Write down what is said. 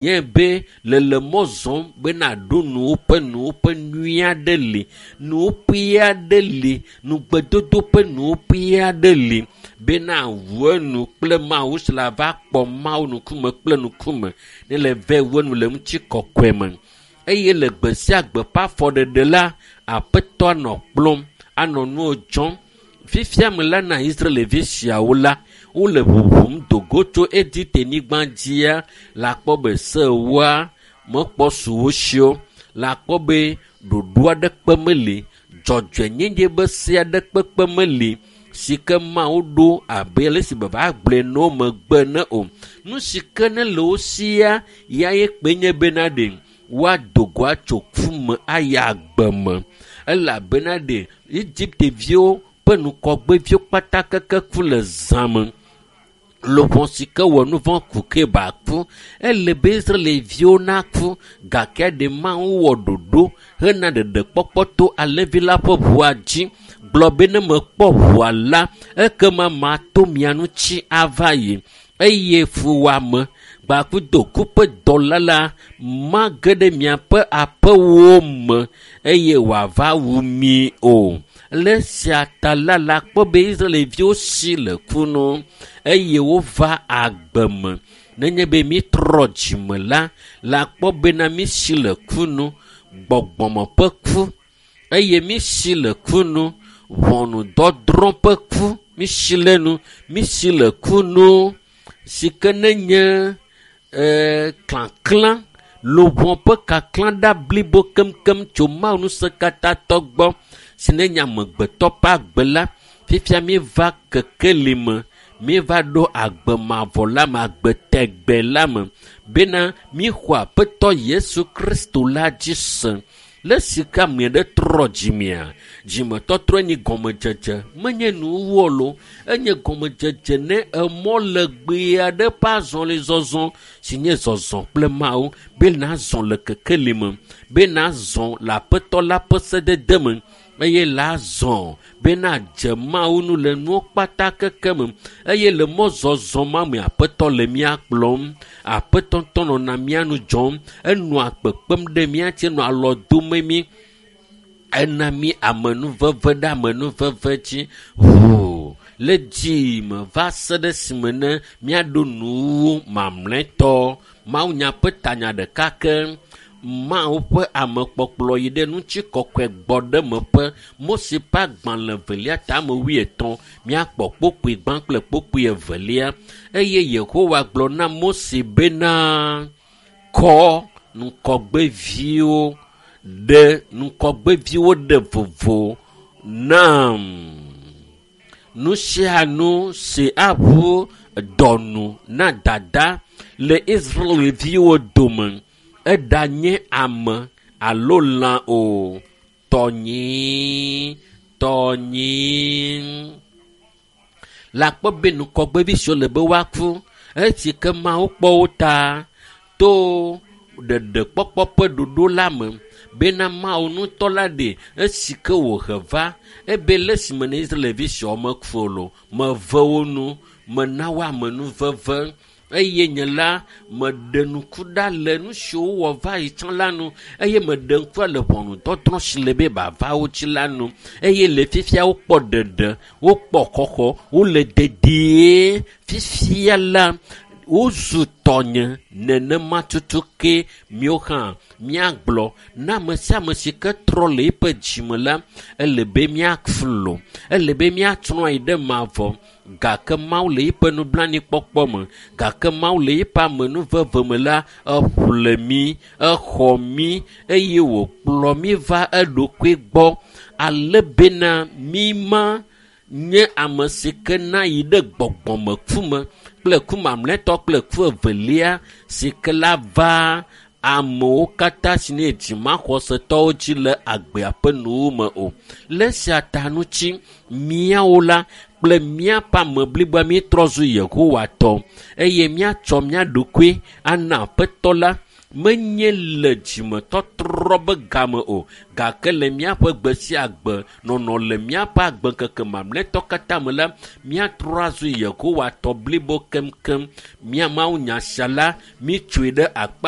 Nye be le le mɔ zɔm be naɖo nuwuƒe nuwuƒe nyui aɖe li. Nuwuƒe aɖe li. Nugbedodo ƒe nuwuƒe aɖe li be nawu enu kple Mawu si le ava kpɔ Mawu ŋkume kple ŋkume ne le vɛ wu enu le ŋutikɔkɔe me. Eye le gbe sia gbe ƒe afɔɖeɖe la, Aƒetɔ anɔ kplɔm, anɔ nuwo dzɔm. Fifia me la na Israelvi siawo la, wole ʋuʋum do go tso Egipte-nyigba dzia le akpɔ be sewoa mekpɔ su wo si o. Le akpɔ be ɖoɖo aɖeke meli, dzɔdzɔenyenye be se aɖe kpekpe meli si ke Mawu ɖo abe ale si beva gblɔe na wo megbe ene o. Nu si ke ne le wo sia ya ye kpe nye bena ɖe woado go atso ku me ayi agbe me elabena ɖe Egipte viwo ƒe ŋgɔgbeviwo kpata keke ku le zã me. Luʋɔ si ke wɔ nu vɔ̃ ku ke ba ku. Ele be Israelviwo naku gake ɖe Mawu wɔ ɖoɖo hena ɖeɖekpɔkpɔ to alẽvi la ƒe ʋua dzi gblɔ be ne mekpɔ ʋua la, ekema mato mia ŋuti ava yi eye fuwɔame gbakudo ku ƒe dɔla la mage ɖe miaƒe aƒewo me eye wòava wu mi o. Le esia ta la, le akpɔ be Israelviwo si le ku nu eye wova agbe me. Nenye be mítrɔ dzime la, le akpɔ bena mísi le ku nu, gbɔgbɔme ƒe ku eye mísi le ku nu, ʋɔnudɔdrɔ̃ ƒe ku, mísi le nu, mísi le ku nu si ke nenye ee kaklã luʋɔ ƒe kaklã ɖa blibo keŋkeŋ tso Mawu ŋusẽkatãtɔ gbɔ si nenye amegbetɔ ƒe agbe la, fifia míeva kekeli me, míeva ɖo agbe mavɔ la me, agbe tegbe la me bena míexɔ Aƒetɔ Yesu Kristo la dzi se. Le esi ke ame ɖe trɔ dzimea, dzimetɔtrɔ nyi gɔmedzedze, menye nuwuwu o loo, enye gɔmedzedze ne emɔ legbee aɖe ƒe azɔlizɔzɔ si nye zɔzɔ kple Mawu be nazɔ le kekeli me, be nazɔ le Aƒetɔ la ƒe sedede me eye la zɔ be nadze Mawu nu le nuwo kpata keke me eye le mɔzɔzɔ ma me Aƒetɔ le mía kplɔm. Aƒetɔ ŋutɔ nɔna mía nu dzɔm, enɔa kpekpem ɖe mía ŋuti, enɔa alɔ dome mí. Ena mí amenuveve ɖe amenuveve dzi ʋuu le dzime va se ɖe esime ne míaɖo nuwuwu mamlɛtɔ. Mawunya ƒe tanya ɖeka ke Mawu ƒe amekpɔkplɔ yi ɖe ŋutikɔkɔe gbɔ ɖe meƒe. Mose ƒe agbalẽ evelia tame wuietɔ̃ míakpɔ kpokpui gbã kple kpokpui evelia. Eye Yehowa gblɔ na Mose bena, kɔ ŋgɔgbeviwo ɖe ŋgɔgbeviwo ɖe vovo nam. Nu sia nu si aʋu dɔnu na dada le Israelviwo dome eɖanye ame alo lã o, tɔnyee, tɔnyee. Le akpɔ be ŋgɔgbevi siwo le be woaku esi ke Mawu kpɔ wo ta to ɖeɖekpɔkpɔ ƒe ɖoɖo la me bena Mawu ŋutɔ la ɖe esi ke wòhe va ebe le esime ne Israelvi siawo meku o lo, meve wo nu, mena wo amenuveve eye nye la meɖe ŋku ɖa le nu siwo wowɔ va yi tsã la nu eye meɖe ŋku ɖa le ʋɔnudɔdrɔ̃ si le be bava wo dzi la nu eye le fifia wokpɔ ɖeɖe, wokpɔ xɔxɔ, wole dedie. Fifia la, wozu tɔnye nenema tutu ke míawo hã míagblɔ na ame sia ame si ke trɔ le eƒe dzime la, ele be míaflo, ele be míatrɔ yi ɖe mavɔ gake Mawu le eƒe nublanuikpɔkpɔ me, gake Mawu le eƒe amenuveve me la, eƒle mí, exɔ mí eye wòkplɔ mí va eɖokui gbɔ ale bena míma nye ame si ke na yi ɖe gbɔgbɔmeku me kple ku mamlɛtɔ kple ku evelia si ke la va amewo katã si nye dzimaxɔsetɔwo dzi le agbea ƒe nuwo me o. Le esia ta ŋuti míawo la kple míaƒe ame bliboa míetrɔ zu Yehowa tɔ eye míatsɔ mía ɖokui ana Aƒetɔ la menye le dzimetɔtrɔ be game o gake le míaƒe gbe sia gbe nɔnɔ le míaƒe agbeŋkeke mamlɛtɔ katã me la, míatrɔ azu Yehowa tɔ blibo keŋkeŋ. Mía Mawu nya sia la, mítsoe ɖe akpa.